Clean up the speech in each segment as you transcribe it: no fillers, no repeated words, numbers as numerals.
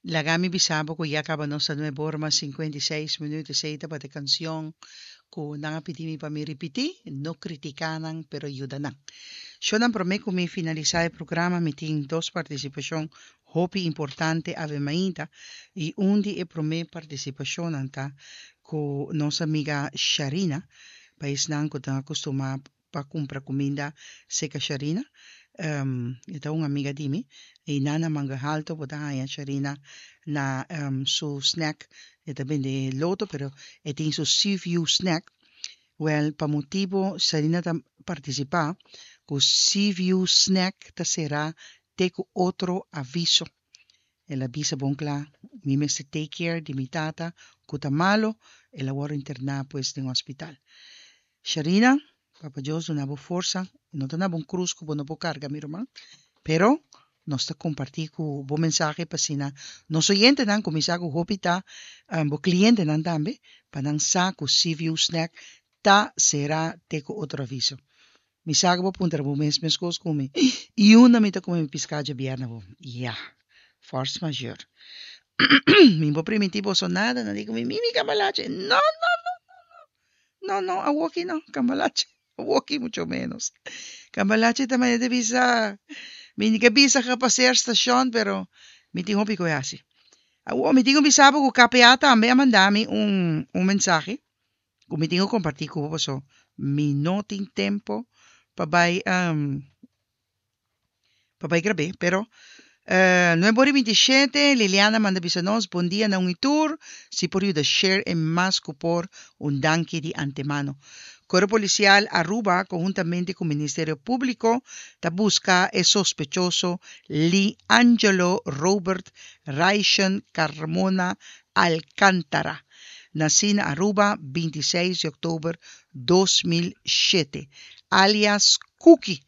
Laga mi bisa bo ku ya kaba nos ta nuebe ora mas 56 minuut. Esei tabata e kansion ku nan a pidi mi pa mi ripití, No kritiká nan, pero yuda nan. Shownan promé ku mi finalisá e programa mi tin dos partisipashon hopi importante awe mainta i un di e promé partisipashonnan ta ku nos amiga Sharina, pa esnan ku ta akustumá pa kumpra kuminda seka Sharina. E ta un amiga di mi i nan na Manga Halto bo ta haña Sharina na su snack. E ta bende loto pero e tin su Seaview snack. Wèl pa motibu Sharina ta partisipá ku Seaview snack ta será te ku otro aviso. El a bisa bon kla, Mi mester take care di mi tata ku ta malo, el a wòrdu interná pues den hospital. Sharina, Papa Dios duna bo forsa, e no ta na bo un krus ku bo no por karga mi ruman, pero nos ta kompartí ku bo mensahe pa asina nos oyentenan kuminsá ku hopi ta bo klientenan tambe pa nan sa ku Seaview Snack ta será te ku otro aviso. Mi sa ku bo puntra bo mes meskos ku mi, I unda mi ta kume mi piská djabièrnè bo? Ya, force majeure. Mi bo primintí boso nada, nan di ku mi, Mimi kambalache. No, no, no, no, no, no, no, awoki no, kambalache, awoki mucho ménos. Kambalache ta manera di bisa, mi ni ke bisa gepaseer stashon, pero mi tin hopi ku e hasi. Awor mi tin ku bisa bo ku KPA tambe a manda mi un un mensahe. Ku mi tin ku kompartí ku bo paso mi no tin tempo pa bai pa bai grab'é. Pero nuebe ora i bintishete Liliana manda bisa nos, Bon dia na un i tur, si por yuda share e mas ku por, un danki di antemano. Kuerpo Polisial Aruba konhuntamente ku Ministerio Públiko ta buska e sospechoso Lee Angelo Robert Raishen Carmona Alcantara. Nací na Aruba 26 di oktober 2007, alias Cookie.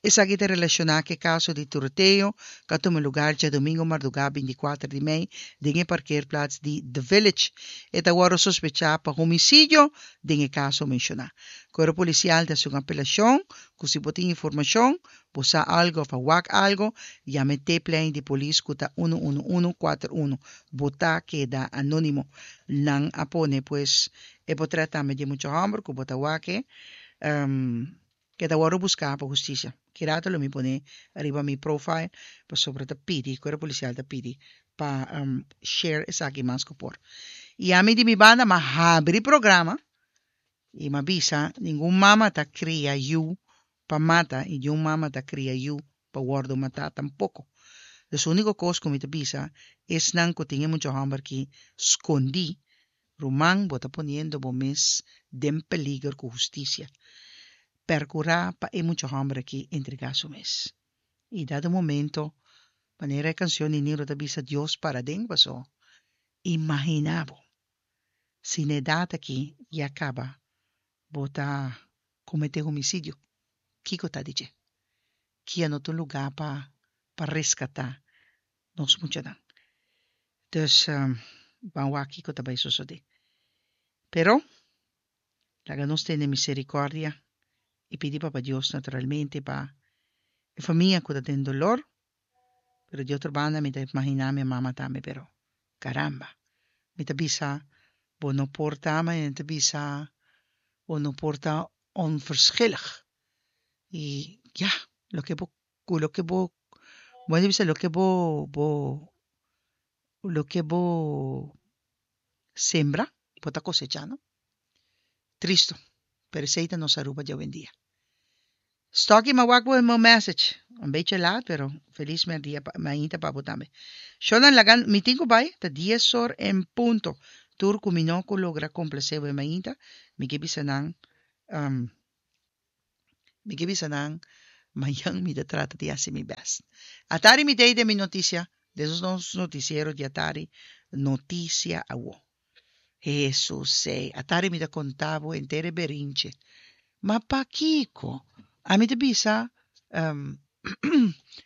Esaki ta relashoná ku e kaso di tiroteo ku a tuma lugar djadumingu mardugá 24 di mei den e parkeerplaats di The Village. E ta wòrdu sospechá pa homisidio den e kaso menshoná. Kuerpo Polisial ta hasi un apelashon ku si bo tin informashon, bo sa algu òf a wak algu, yama e teplijn di polis ku ta unu unu unu kuater unu. Bo ta keda anónimo. Nan a pone pues e potrèt tambe di e mucha hòmber ku bo ta wak e ke ta wòrdu buská pa hustisia. Ki rato lo mi pone riba mi profile pasobra ta pidi, kuerpo polisial ta pidi pa share esaki mas ku por. I ami di mi banda m'a habri programa i m'a bisa ningun mama ta kria yu pa mata i niun mama ta kria yu pa wòrdu matá tampoko. Dus úniko kos ku mi ta bisa esnan ku tin e mucha hòmber ki skondí, ruman bo ta poniendo bo mes den peliger ku hustisia. Pèrkurá pa e mucha hòmber aki entregá su mes. I dado momento, manera e kanshon di Niro ta bisa Dios para den paso, imaginá bo si na edat aki ya kaba bo ta kometé homisidio, kiko ta di dje? Kia no ta un lugá pa pa reskatá nos muchanan. Dus ban wak kiko ta bai sosodé. Pero laga nos tene miserikòrdia i pidi Papa Dios naturalmente pa e famia ku ta den dolor, pero di otro banda mi ta imaginá mi mama tambe pero caramba mi ta bisa bo no por ta ma e ta bisa bo no por ta onverschillig y ya loke bo cu loke bo bo a bisa loke bo bo loke bo sembra bo ta cosecha no tristo pero esey ta nos Aruba di awendia. Stocky m'a wak bo e message un bechi laat pero felis merdia pa mainta pa bo tambe. Shownan laga mi tin ku bai ta dies or en punto tur ku mi no ku logra komplase bo e mainta mi ke bisa nan mi ke bisa nan mañan mi ta trata di hasi mi best. Atari mi tei den mi notisia den nos notisiero di atari notisia awo. Hesus ei, atari mi ta konta bo henter e berinche. Ma pakiko? Ami ta bisa,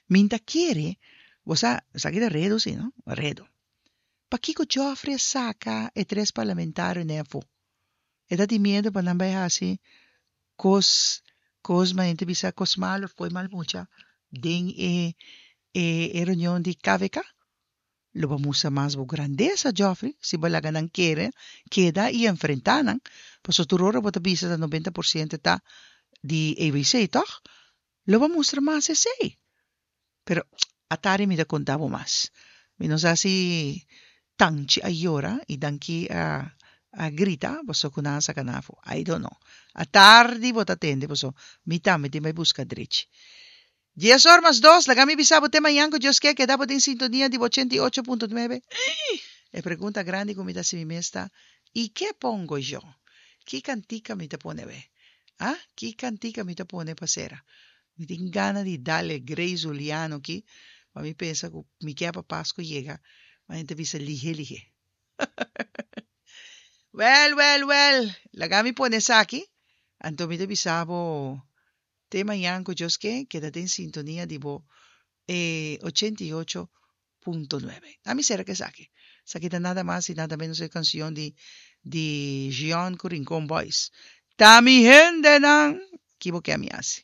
Mi n'ta kere, bo sa, esaki ta redo si, no? Redo. Pakiko Geoffrey a saka e tres parlamentarionan afó? E ta tin miedu pa nan bai hasi kos, kos, ma hende ta bisa kos malu of koe mal mucha den e, e reunion di KVK? Lo bo mustra mas bo grandesa, Geoffrey, si bo laga nan kere, keda i enfrentá nan. Pasobra tur ora bo ta bisa ta 90% ta di ABC, tòg? Lo bo mustra mas esei. Pero atari mi ta konta bo mas. Mi no sa si Tanchi a yora i Danki a a grita paso ku nan a saka nan afó. I don't know. Atardi bo ta tende paso mi tambe tin bai buska drechi. Dies or mas dos, laga mi bisa bo te mañan ku Dios ke keda bo den sintonia di bo 88.9. E pregunta grandi ku mi ta hasi mi mes ta, I ke pongo yo? Ki kantika mi ta pone we? Ah, ki kantika mi ta pone pa sera? Mi tin gana di dal e Grey Zuliano ki, ma mi pensa ku mi ke pa Pasku yega, ma nan ta bisa lihe lihe. Wèl, wèl, wèl, laga mi pone esaki, anto mi ta bisa bo te mañan ku Dios ke, keda den sintonia di bo e 88.9. Ami sera ku esaki. Esaki ta nada mas i nada menos e kansion di di Jeon ku Rincon Boys. Ta mi hendenan! Ki bo ke ami hasi?